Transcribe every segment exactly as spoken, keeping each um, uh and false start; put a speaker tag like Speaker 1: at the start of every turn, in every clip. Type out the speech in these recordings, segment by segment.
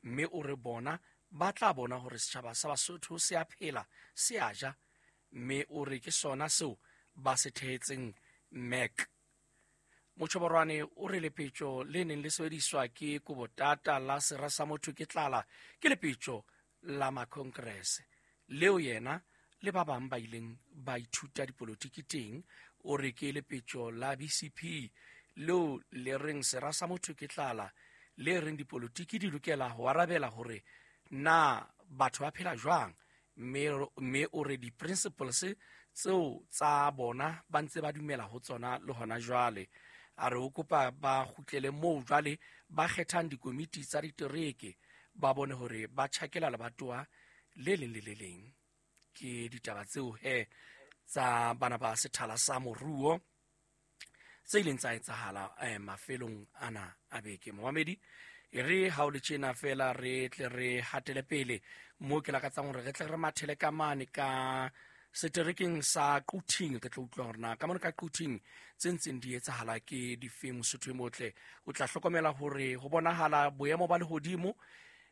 Speaker 1: Mme o re bona ba tla bona hore setjhaba sa Basotho se a phela, se a ja, mme o re ke sona seo ba se thehetseng M E C. Motjhoborwane o re lepetjo le neng le sebediswa ke Kobotata la sera sa motho ke tlala ke lepetjo la makongrese leo yena le ba bang ba ileng ba ithuta dipolotiki teng. O re ke lepetjo la B C P leo le reng sera sa motho ke tlala, le reng dipolotiki di lokela ho arabela hore na batho ba phela jwang, mme mme o re di-principles tseo tsa bona ba ntse ba dumela ho tsona le hona jwale. A re o kopa ba kgutlele moo jwale ba kgethang dikomiti tsa ditereke, ba bone hore ba tjhakela lebatowa le leng le le leng. Ke ditaba tseo he tsa bana ba sethala sa moruo tse ileng tsa etsahala eh, mafelong ana a beke. Momamedi, e re ha o le tjena fela re tle re hatele pele mo ke lakatsang hore re tle re mathele ka mane ka seterekeng sa Quthing, re tlo utlwa hore na ka mane ka Quthing tse ntseng di etsahala ke dife. Mosotho e motle, o tla hlokomela hore ho bonahala boemo ba lehodimo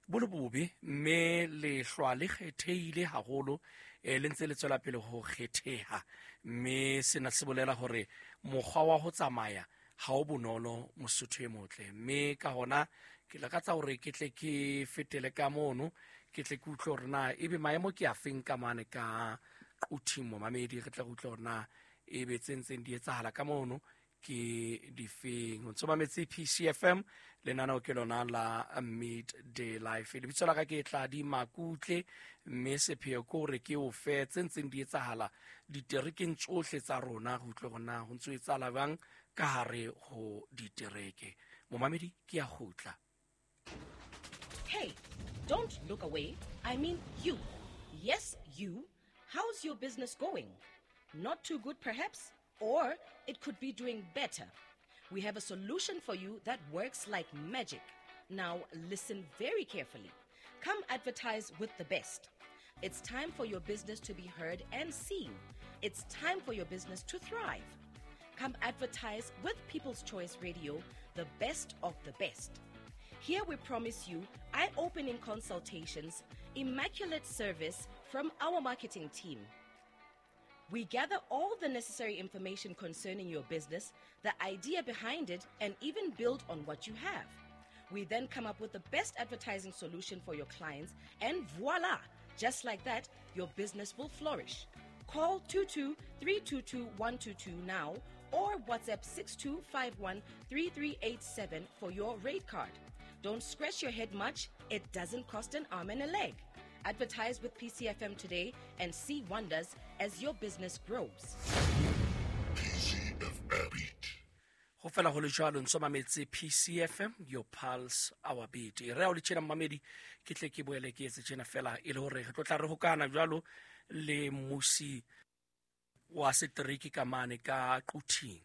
Speaker 1: bo le bobe, mme lehlwa le kgethehile haholo, eh, le ntse le tswela pele ho kgetheha, mme sena se bolela hore mokgwa wa ho tsamaya ha o bonolo, Mosotho e motle. Mme ka hona ke lakatsa hore ke tle ke fetele ka mono, ke tle ke utlwe hore na ebe maemo ke a feng ka mane ka Quthing. Momamedi, re tle re utlwe hore na ebe tse ntseng di etsahala ka mono ke difeng. O ntso mametse P C F M, lenaneo ke lona la Midday Life. Lebitso la ka ke Tladi Makutle, mme sepheo ke hore ke o fe tse ntseng di etsahala diterekeng tsohle tsa rona, re utlwe hore na ho ntso etsahala jwang ka hare ho ditereke. Momamedi, ke a kgutla.
Speaker 2: Hey, don't look away. I mean you. Yes, you. How's your business going? Not too good, perhaps? Or it could be doing better. We have a solution for you that works like magic. Now, listen very carefully. Come advertise with the best. It's time for your business to be heard and seen. It's time for your business to thrive. Come advertise with People's Choice Radio, the best of the best. Here we promise you eye-opening consultations, immaculate service from our marketing team. We gather all the necessary information concerning your business, the idea behind it, and even build on what you have. We then come up with the best advertising solution for your clients, and voila! Just like that, your business will flourish. Call two two three two two one two two now or WhatsApp six two five one three three eight seven for your rate card. Don't scratch your head much. It doesn't cost an arm and a leg. Advertise with P C F M today and see wonders as your business grows.
Speaker 3: P C F M.
Speaker 1: Ho fela ho le jwalo, ntso mametse P C F M, your pulse, our beat. E re ha o le tjena mmamedi, ke tle ke boele ke etse tjena fela e le hore re tlo tla re hokana jwalo le mmusi wa setereke ka mane ka Quthing.